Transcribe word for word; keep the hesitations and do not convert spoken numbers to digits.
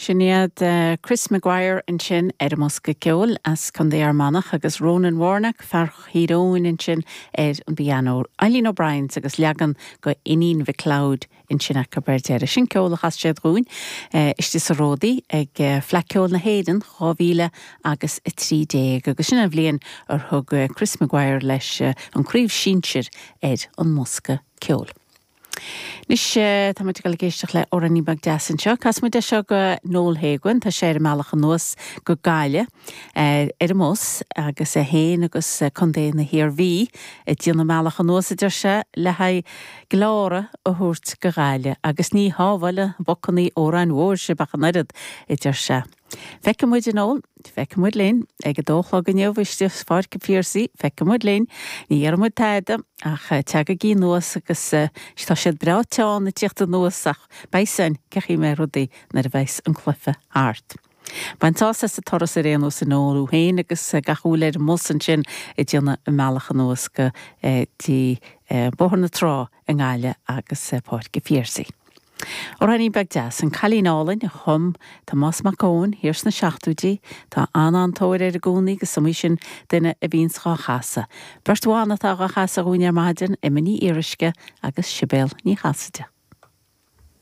Sin iad uh, Chris Maguire ansin ar an mbosca ceoil as Contae Fhear Manach agus Ronan Warnock fear Thír Eoghain ansin ar an bpianó. Eileen O'Brien agus leagan go Iníon McLeod ansin acu ar deireadh. Sin ceol a chas siad dúinn uh, istigh sa Ródaí ag uh, Fleadh Cheoil na hÉireann dhá mhíle agus a trí déag agus sin an bhliain ar thug uh, Chris Maguire leis uh, an chraobh shinsir ar an mbosca ceoil. Anois tá muid ag éisteacht le amhráinín beag deas anseo, Casfaidh muid é seo go Noel Hagan, tá sé ar an mbealach anuas go Gaillimh ar an mbus agus é féin agus Contae na hIarmhí ag déanamh an bealach anuas a deir sé le haghaidh glóra a thabhairt go Gaillimh agus ní shábháil bocannaí amhráin mhóir sibh ach an oiread a deir sé. Feicfidh muid a Noel, feicfidh muid linn ag a dó a chlog inniu istigh i Pháirc an Phiarsaigh, feicfidh muid linn, ní dhéarfaidh muid tada ach teagaigí anuas agus tá siad breá teann ag tíocht anuas ach beidh san ceí mé rudaí nuair a bheas an cluiche thart. Bain sás as an turas ar aon nós a Noel tú féin agus gach éinne ar an mbus ansin ag déanamh an bealach anuas go dtí Bóthar na Trá i nGaillimh agus Páirc an Phiarsaigh. Amhráinín beag deas an Cailín Álainn a chum Tomás Mac Eoin thiar sna seachtóidí tá an-tóir air i gcónaí agus is iomaí sin duine a bhíonns dhá chasadh. Beirt bhan atá dhá chasadh dúinn ar maidin Emma Ní Fhíoruisce agus Sibéal Ní Chasaide.